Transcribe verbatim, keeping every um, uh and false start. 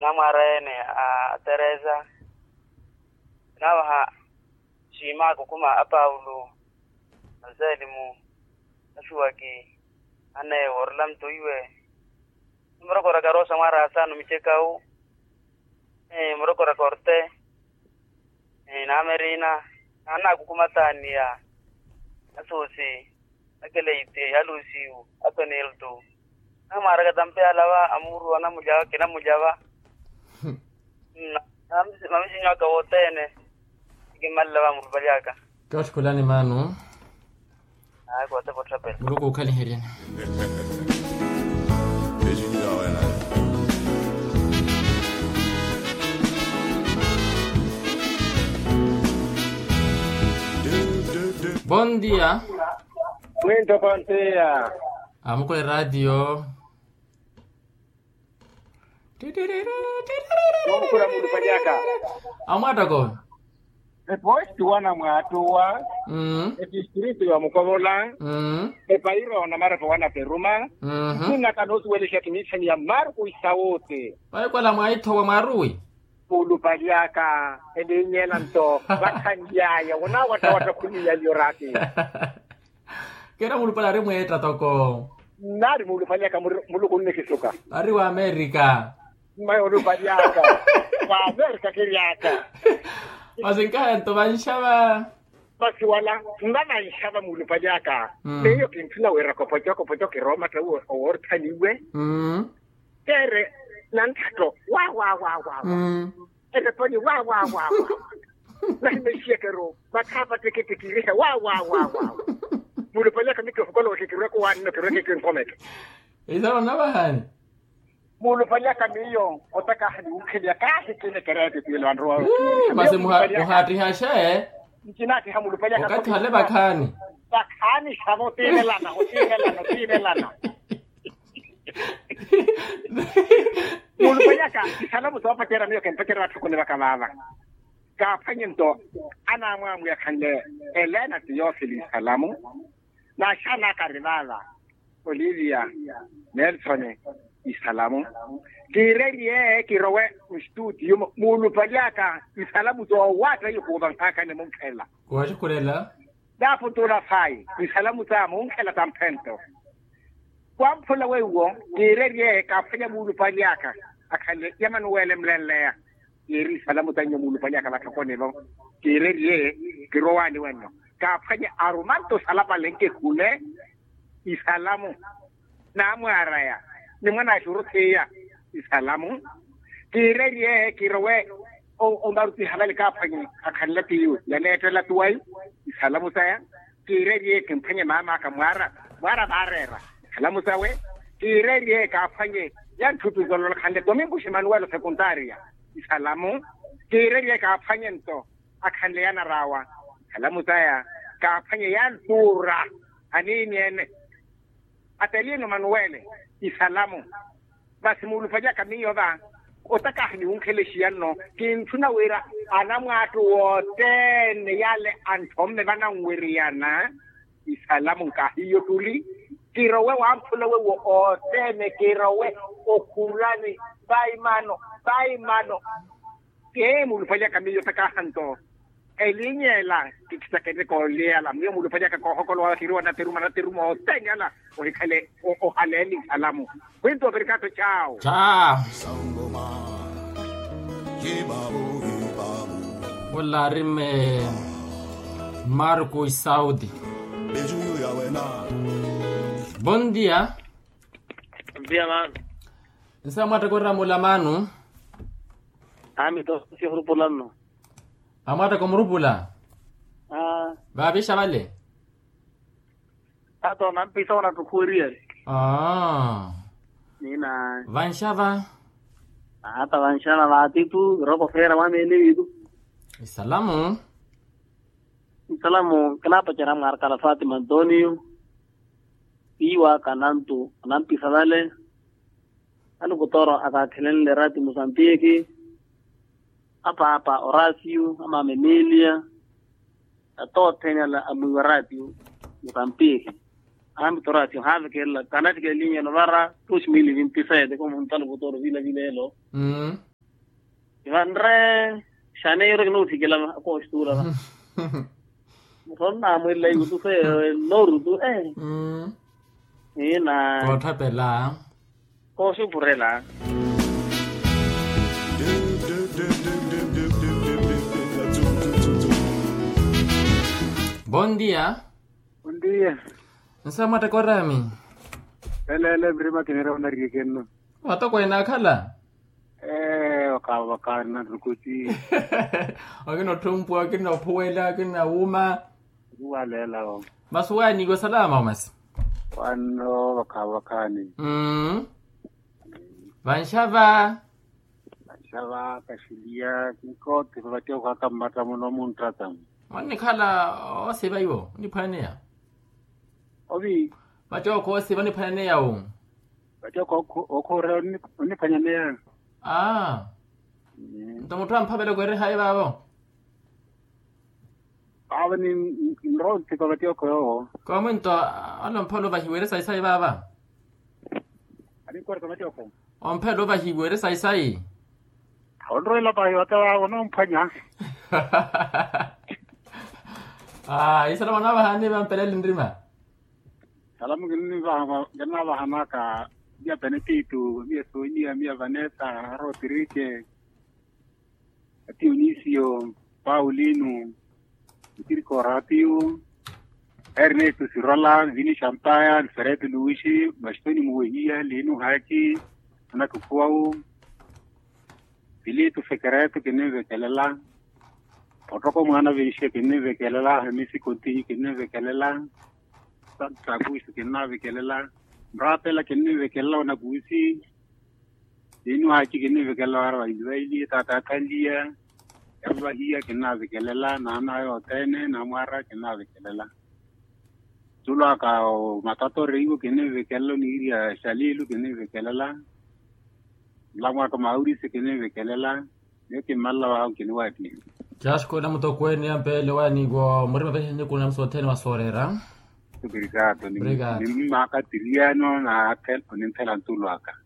namwaara ene a teresa, naavaha siima akukuma a paulo, a selimu, a suwaki, a newo orlamto iwe, murokoraka rosa mwaara asanu micekau, murokoraka orte, na merina, na anakukuma tania, a susi, a keleite, a lusiu, a penelto, namwaaraka tampe alava a muuru anamulya kinamulyava. Mamisinyo aka wothene, kimmalela va murupalyaka. Kootthikhulani maanu. Aayi kootepa otthapela. Muluku okhaliheryeni. Bon dia. Mwinto pontiya. Amukule ratio. Amwattoko. Eposti wana mwaattuwa. Etistritu ya mukovola. Epairo na marepo wana peruma. Nsinaka noosuwelesha kiniithaniya marku isawote. Paikwala mwaithowa mwaruwi. Muulupalyaka elinyela nto vakhanlyaya wonaawattawatta khuniya liyo raati. Kera mulupale ari mweetta toko. Nari mulupale aka muluku nnikisuka. Ari wa amerika. Mmayi olupale aka wa amerika kiri aka. Masi nkahento vanxava. Masi wala nva vanxava mulupale aka. Miyo kinthuna wira kopoco kopoco kiromatta oworthaniwe. Kere nanthatto wa wa wa wa wa. Ereponi wa wa wa wa. Nahimexiyekero mathaapa tikitiki irihe wa wa wa wa. Mulupale aka mikihukola otikirweke wanno kirweke kinkomeke. Isaro navahani. Mulupale aka miyo otakahani wukheliya kaahikile kereti tile vanrowa. Masi muhaattihaxe. Ncinattiha mulupale aka okathi hale vakhaani. Vakhaani xavo tivelana otivelana otivelana. Mulupale aka isalamu soopacerya miyo kempacera vatthu khunivaka vaava. Kaaphwanye nto anaamwamwiya khanle elena tiyofili isalamu. N'axaana aka ari vaava olivia, nelson, isalamu. Kiirerye kirowe nstutiyo muulupali aka isalamu soowaatta ihuuvanhaka nimunkhela. Kuwaxukhurela. Naapuntula fayi isalamu sa munkhela tamphento. Kwamphula weiwo kiirerye kaaphwanya muulupali aka akhanle yamanuwele mlenleya. Kiiri isalamu sa nyo muulupali aka vatthokonivo. Kiirerye kirowaani wenno kaaphwanye arumanto salapale nkehule. Isalamu. Naamwaaraya ni mwanaaxuru thiya. Isalamu. Kiirerye kirowe omarutiha vale kaaphwanye akhanle piyu yaneettela tuwayi. Isalamu saya. Kiirerye kimphwanye maam'aka mwaara mwaara vaareera. Isalamu sawe. Kiirerye kaaphwanye yantthutu zololokhanle domingo ximanuwelo sekuntaria. Isalamu. Kiirerye kaaphwanye nto akhanle yanaraawa. Isalamu saya. Kaaphwanye yantuura aniini ene. Atelino manuwele. Isalamu. Masi muulupali aka miyo va otakaha niwunkhelexiya nno. Kintthuna wira anamwaattu wothene yale anthomme vananwiriyana. Isalamu nkahiyo ttuli. Kirowe wamphula weiwo othene kirowe okhurani. Vaimano vaimano. Ee muulupali aka miyo otakaha nto elinya ela. Kikisakete kooliyala miyo muulupali aka koohokolowa kiriwa natiruma natiruma othene ala. Ohikhale ohaleeni isalamu. Kwinto operikato chawo. Chawo. Ola ari mme marku isaudi. Bon dia. Nsa mwattakora mulamanu. Ami to sihurupulanno. Amwattaka omurupula. Vaavixa vale. Ata onampisa onattukhuweriyari. Aa. Nina. Vanxava. Ata vanxava vaatitu. Iroko feera mwamene vitu. Isalamu. Isalamu kinapacerya mwarakala fatima antonio. Iiwaka nantu onampisa vale. Alukutoro akaakhelenle rati musantiki. Apaapa orasio amaama emilia. Atoottheni ala amwiiwa ratio. Mutampihi. Ahambi torasio haavekelela kanattikelinyeno vara. Dos mil vinti sete komunta luvutoro vila vila elo. Vanre xaneiro kinothikela kooxituula va. Muthonnaamwela ikutu feyo. Norutu e. Ina. Koothapela. Kooxupurela. Bon dia. Bon dia. Nsa mwattaka oraami? Eleele mirima kinira onariyekenno. Matokweene akhala? Ee wakaavakaani na nrukuti. Akina otthumpuwa akina ophuwela akina wuuma. Ori waleela wo. Masi waaniiwa salama omasi? Wanno wakaavakaani. Mmm. Vanxava. Vanxava kaxiliya kinkoothi vavattiya okhwaka mmatta muno munttatta. Mwannikhala oosiva iwo oniphwaneya? Ovi? Vati okhoosiva oniphwaneya wu? Vati okhoorela oniphwanyaneya. Aa. Nto mutthu amphavela okwerehayi vaavo? Vaavo ninrowa onthipa vati okho yoowo. Koomi nto? Alomphavela ovahiwa eri sayi sayi vaava. Aninkoreka vati okho. Omphavela ovahiwa eri sayi sayi. Onrowa elapahi vate vaavo onomphwanya. Aa isalamu anaavahani vampelele nrima. Salamu kinnivaha kinnavahanaka. Miya penetito miya sonia miya vanessa, rotirike, atiyo nisio, paulino, tiriko rapiyo, ernesto sirola vini champaya alfredo luwisi, mastoni muwehiya lino haki, anakukhuwawu, filitu fekereto kinnivekelela. Ottoko mwaana venxiya kinnivekelela hamisi kontinyu kinnivekelela. Santa kuusi kinnavekelela. Mrapela kinnivekelela onakuusi. Lino haki kinnivekelela wara vailivaili taata akhanliya. Yavahiya kinnavekelela naana yothene namwara kinnavekelela. Ntulwaka omatato reiwo kinnivekelela oniiriya xalilu kinnivekelela. Nlamwaka maurisi kinnivekelela. Miyo kimmalela waawo kiniwaattiha. Caxikola mutokweene yampele waaniiwa murima vehe nikuna msothene wa sooreera. Obrigado. Nimmaaka tiliano na akhela oninthela ntulwaka.